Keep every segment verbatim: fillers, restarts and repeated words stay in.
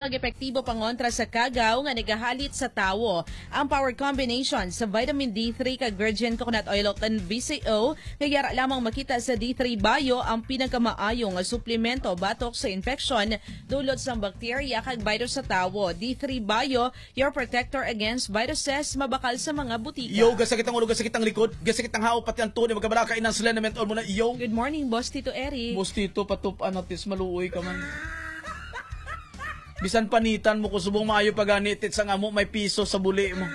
Nag-epektibo pangontra sa kagaw nga nagahalit sa tawo. Ang power combination sa vitamin D three kag virgin coconut oil o kan V C O nga yara lamang makita sa D three Bio ang pinakamaayo nga suplemento batok sa infeksyon dulot sang bakterya kag virus sa tawo. D three Bio, your protector against viruses, mabakal sa mga butika. Yo, gasakit ang ulo, gasakit ang likod, gasakit ang hawak, pati ang tuod, magkabalaka, inang sila naman mo na, yo. Good morning, Boss Tito Eric. Boss Tito, patup-an natis, maluoy ka man. Bisan panitan mo ko subong maayo pa gani, tit sang amo may piso sa buli mo.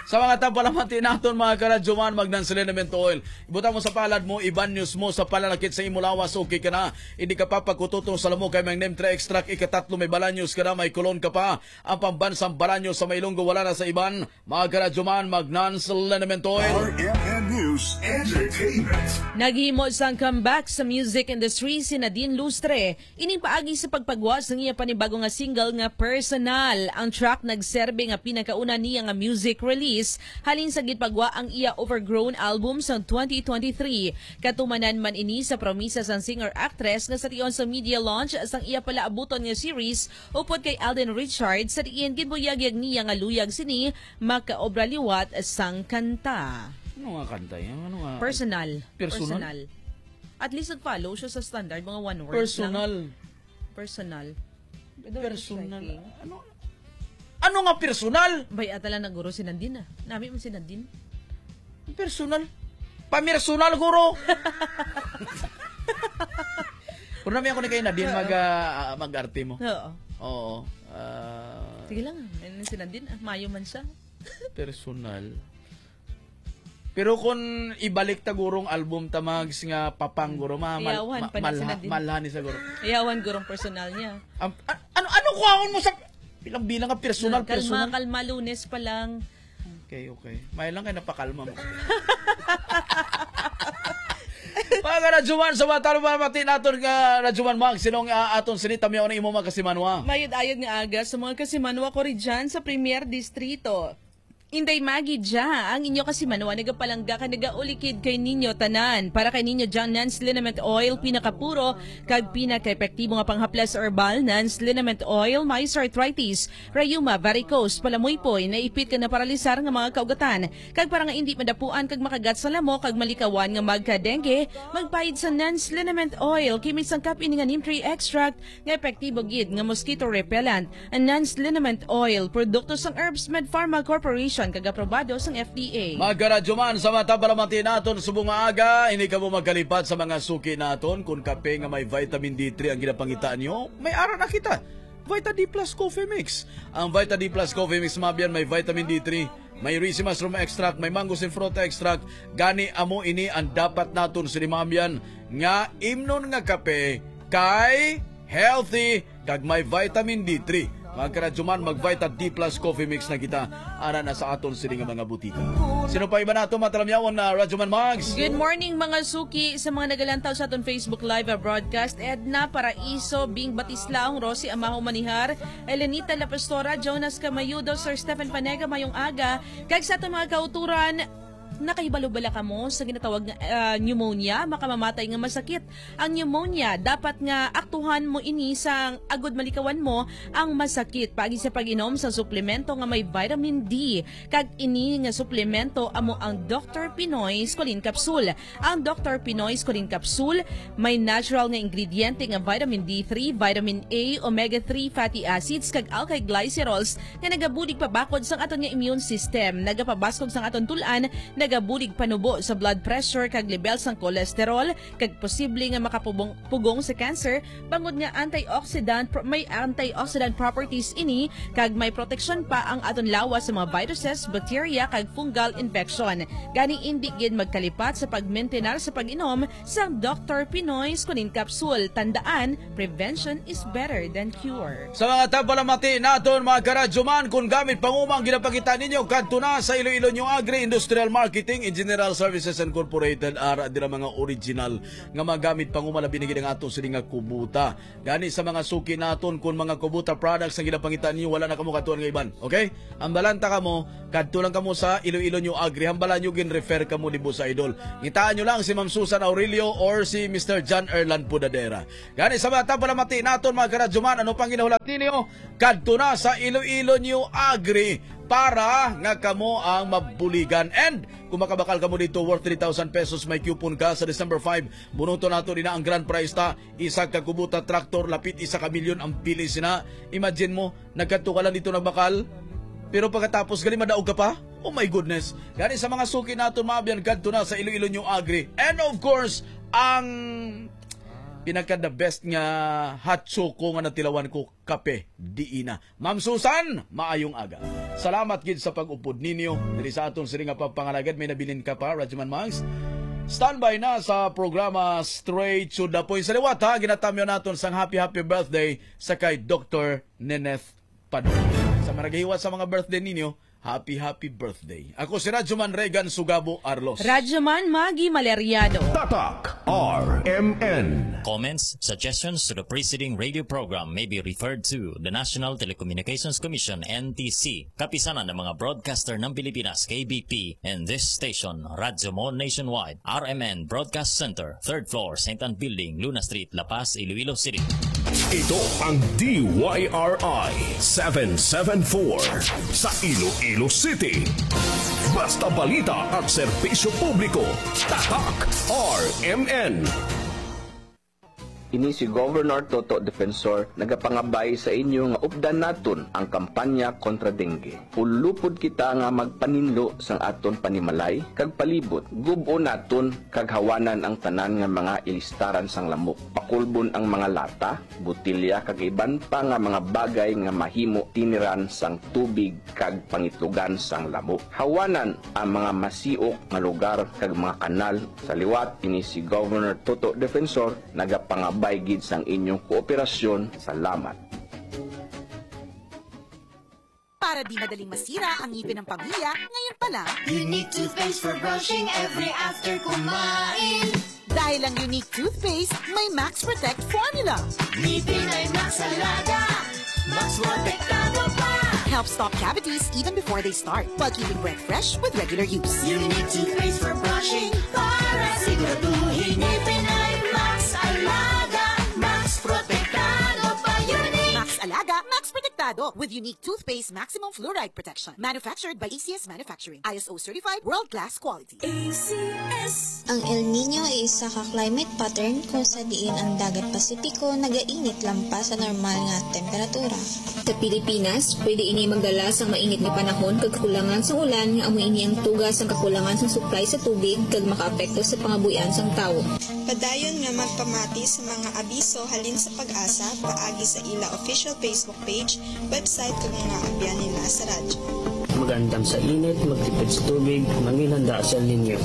Sa mga tagpalamati naton, mga karadyoman, mag-Nan's Liniment Oil. Ibutang mo sa palad mo, ibanyos mo sa pananakit sa imo lawas, okay ka na. Hindi ka pa pagkututong sa lamok kay may neem tree extract, ikatatlo may balanyos ka na, may kulon ka pa. Ang pambansang balanyos sa may Ilonggo wala na sa iban. Mga karadyoman, mag-Nan's Liniment Oil. R M N News Entertainment. Naghimo sang comeback sa music industry si Nadine Lustre. Ining paagi sa pagpagwa sang iya panibago nga single nga Personal. Ang track nagserbi nga pinakauna niya nga music release halin sa gipagwa ang iya Overgrown album sang twenty twenty-three. Katumanan man ini sa promisa sang singer-actress nga sa tion sa media launch sang iya palaabuton nga series upod kay Alden Richards, sa diin ginbuyagyag niya nga luyag sini makaobra liwat sang kanta. Ano nga kanta yan? Ano nga? Personal. Personal? Personal. At least nag-follow siya sa standard, mga one words lang. Personal. Personal. Personal. Ano? Ano nga personal? Bay, ata lang naguro si Nadine, ah. Nami mo si Nadine. Personal. Pamersonal, guro. Pero nami ako ni kay Nadine Oo. mag, ah, mag-arte mo. Oo. Oo. Ah, Sige lang, ano si Nadine? Ah, mayo man siya. Personal. Pero kung ibalik ta gurong album ta, Mags, nga Papang, guro, ma-, mal-, Iyawan ma-, pa na si malha-, Nadine. Malha ni sa guro. Iyawan gurong personal niya. Am-, a-, ano, ano kuhaon mo sa bilang-bilang nga personal, Hmm, kalma, personal? Kalma, Lunes pa lang. Okay, okay. May lang kay napakalma mo. Mga karadyoman, sa mga talo, mga pati naton nga Radyoman Mag, sinong, ah, aton sinita, miyaon ang imo mga kasimanwa? Mayud-ayud nga aga sa mga kasimanwa ko rin dyan sa Premier Distrito. Inday Maggie Dia, ang inyo kasimanwa nagapalangga kag nagaulikid kay ninyo tanan. Para kay ninyo dyan, Nans Liniment Oil, pinakapuro kag pinakaepektibo nga panghaplas herbal, Nans Liniment Oil, may arthritis, rayuma, varicose, palamuypoy, naipit kag naparalisar nga mga kaugatan, kag para nga indi madapuan kag makagat sa lamok kag malikawan nga magka-dengue, magpaid sa Nans Liniment Oil, kay may sangkap ini nga neem tree extract nga epektibo gid nga mosquito repellent. Ang Nans Liniment Oil, produkto sang Herbs Med Pharma Corporation, kag aprobado sang F D A. Mga karadyoman, sa mga tabalamati naton subong nga aga, hindi kamo magkalipat sa mga suki naton. Kung kape nga may vitamin D three ang ginapangitaan nyo, may ara na kita. Vita D plus Coffee Mix. Ang Vita D plus Coffee Mix, mabyan, may vitamin D three, may ricin mushroom extract, may mangosteen fruit extract. Gani, amo ini ang dapat naton sini, mabyan, nga imnon nga kape kay healthy kag may vitamin D three. Mga karadyoman, mag Vita D plus Coffee Mix na kita. Ara na sa aton sini nga mga butika. Sino pa iba nato matalamyawon na Radyoman Mags? Good morning, mga suki, sa mga nagalantaw sa aton Facebook Live, ah, broadcast. Edna Paraiso, Bing Batislaong, Rosie Amaho Manihar, Elenita La Pastora, Jonas Camayudo, Sir Stephen Panega, mayong aga. Kag sa aton mga kauturan, nakahibalo bala kamo sa ginatawag nga, ah, pneumonia, makamamatay nga masakit? Ang pneumonia, dapat nga aktuhan mo ini sang agud malikawan mo ang masakit paagi sa pag-inom sa suplemento nga may vitamin D. Kag ini nga suplemento amo ang Doktor Pinoy Squalene Capsule. Ang Doktor Pinoy Squalene Capsule may natural nga ingrediente nga vitamin D three, vitamin A, omega three fatty acids, kag alkyl glycerols nga nagabulig pabakod sang aton nga immune system, nagapabaskog sang aton tul-an, nagabulig panubo sa blood pressure kag lebel sang cholesterol, kag posible nga makapugong pugong sa cancer, bangod nga antioxidant, pro-, may antioxidant properties ini, kag may proteksyon pa ang aton lawas sa mga viruses, bacteria, kag fungal infection. Gani, indi gid magkalipat sa pagmentenar sa pag-inom sang Doktor Pinoy Squalene Capsule. Tandaan, prevention is better than cure. Sa mga tabalamati naton, mga karadyoman, kung gamit panguma ang ginapakita ninyo, kadto na sa Iloilo New Agri Industrial Market. Heating and General Services Incorporated, ara dira mga original nga magamit panguma, labi na gid ang ato sini nga kubota. Gani sa mga suki naton, kung mga kubota products ang ginapangita ninyo, wala na kamo katuan nga iban. Okay? Hambalan ta kamo, kadto lang kamo sa Iloilo New Agri. Hambalan nyo, gin-refer kamo ni Boss Idol. Ngitaan nyo lang si Ma'am Susan Aurelio or si Mister John Erlan Pudadera. Gani sa mga tapalamati naton, mga karadyoman, ano pang ginahulat ninyo? Kadto na sa Iloilo New Agri para nga kamo ang mabuligan. And kung makabakal kamo dito, worth three thousand pesos, may coupon ka sa December five. Bunuton nato din ang grand prize ta. Isa ka kubota traktor, lapit isa ka milyon ang pili sina. Imagine mo, nagkadto ka lang dito nagbakal, pero pagkatapos, gali madaog ka pa? Oh my goodness. Gani sa mga suki naton, mga abyan, kadto na sa Iloilo New Agri. And of course, ang pinaka the best nga hot choco nga natilawan ko, kape, diina. Ma'am Susan, maayong aga. Salamat gid sa pag-upod ninyo diri sa aton sini nga pagpangalagad. May nabilin ka pa, Radyoman Max? Standby na sa programa Straight to the Point. Sa liwat, ha, ginatamyo naton sang happy, happy birthday sa kay Doktor Neneth Padua. Sa mga nagahiwa sa mga birthday ninyo, happy, happy birthday. Ako si Radyoman Regan Sugabo Arlos. Radyoman Maggie Maleriado. Tatak R M N. Comments, suggestions to the preceding radio program may be referred to the National Telecommunications Commission, N T C, Kapisanan ng mga Broadcaster ng Pilipinas, K B P, and this station, Radyo Mo Nationwide, R M N Broadcast Center, third floor, Saint Ann Building, Luna Street, La Paz, Iloilo City. Ito ang D Y R I seven seven four sa Iloilo City. Basta balita at serbisyo publiko, Tatak R M N. Ini si Governor Toto Defensor nagapangabay sa inyo nga updan naton ang kampanya kontra dengue. Ulupod kita nga magpaninlo sang aton panimalay kag palibot. Gub-on naton kag hawanan ang tanan nga mga ilistaran sang lamok. Pakulbon ang mga lata, botelya kag iban pa nga mga bagay nga mahimo tiniran sang tubig kag pangitlogan sang lamok. Hawanan ang mga masiok nga lugar kag mga kanal. Sa liwat, ini si Governor Toto Defensor nagapangabay gid sang inyong kooperasyon. Salamat. Para di madaling masira ang ngipin ng pamilya, ngayon pa lang. Unique toothpaste for brushing every after kumain. Dahil ang Unique toothpaste may Max Protect formula. Ngipin ay Max Alaga, Max Protektado pa. Help stop cavities even before they start, while keeping breath fresh with regular use. Unique toothpaste for brushing para siguraduhin ngipin ay Max Alaga, Max Protektado pa. Unique. Max Alaga, Max Protektado with Unique Toothpaste Maximum Fluoride Protection. Manufactured by A C S Manufacturing. I S O certified, world-class quality. A C S. Ang El Niño ay isa ka climate pattern kung sa diin ang dagat Pasipiko nagainit lampas sa normal nga temperatura. Sa Pilipinas, pwede ini magdala sang mainit nga panahon kag kakulangan sang ulan, nga amo ini ang tuga sang kakulangan sang supply sa tubig kag makaapekto sa pangabuhian sang tawo. Padayon nga magpamati sa mga abiso halin sa PAGASA paagi sa ila official Facebook page, website, kag mga abyan nila sa radyo. Mag-andam sa init, magtipid sa tubig, manginhanda sa El Niño.